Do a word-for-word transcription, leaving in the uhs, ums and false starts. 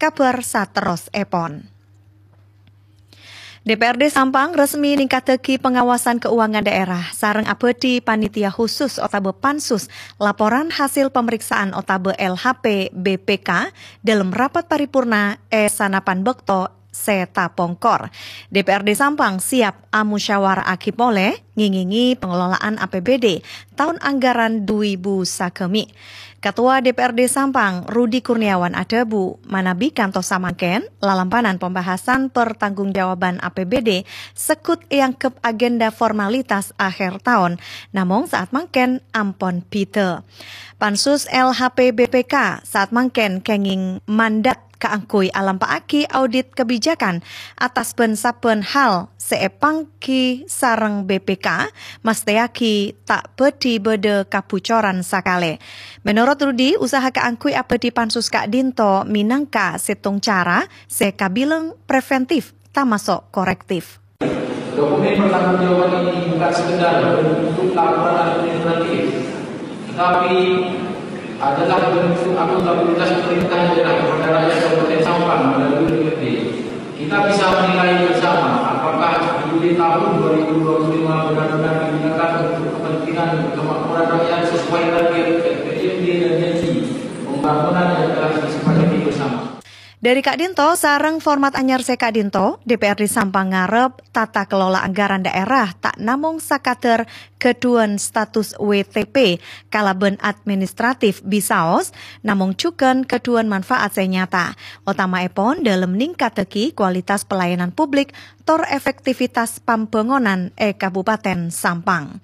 kabhâr saterrossèpon. D P R D Sampang resmi ningkattaghi pengawasan keuangan daerah sareng abâdhi panitia khusus otabâ pansus laporan hasil pemeriksaan otabâ L H P B P K dalam rapat paripurna è sanapan bâkto sè tapongkor. D P R D Sampang siap amusyawara'aghi polè ngèngèngè pengelolaan A P B D taon anggaran du èbu sagâmè'. Ketua D P R D Sampang, Rudi Kurniawan adhâbu, manabi kantos samangkèn, lalampanan pembahasan pertanggungjawaban A P B D segghut èangghep agenda formalitas akhèr taon, namong saat mangkèn ampon bhidhâ. Pansus L H P B P K saat mangkèn kèngèng mandat kaangghuy alampa'aghi audit kebijakan attas bân-sabbhân hal sè èpangghi sareng B P K, mastèyaghi ta' bhâdhi bâdâ kabucoran sakalè. Menorot Rudi, usaha kaangghuy abâdhi pansus ka'dinto mènangka sèttong cara sè kabilang preventif, tamaso' korektif. Dokumen pertanggungjawaban ini bukan sekedar bentuk laporan administratif, tetapi adalah bentuk akuntabilitas pemerintah daerah kepada rakyat Kabupaten Sampang melalui D P R D. Kita bisa menilai bersama apakah di tahun dua ribu dua puluh lima benar-benar digunakan untuk kepentingan kemakmuran rakyat sesuai target R P J M D dan janji pembangunan yang telah disepakati bersama. Dhâri ka'dinto sareng format anyar sè ka'dinto, D P R D Sampang ngarep tata kelola anggaran daerah ta' namong sakadhâr ghâdhuwân status W T P kalabân administratif bisaos, namong jhughân ghâdhuwân manfaat sè nyata, otama'èpon dâlem ningkattaghi kualitas pelayanan publik tor efektivitas pambhângonan è Kabupaten Sampang.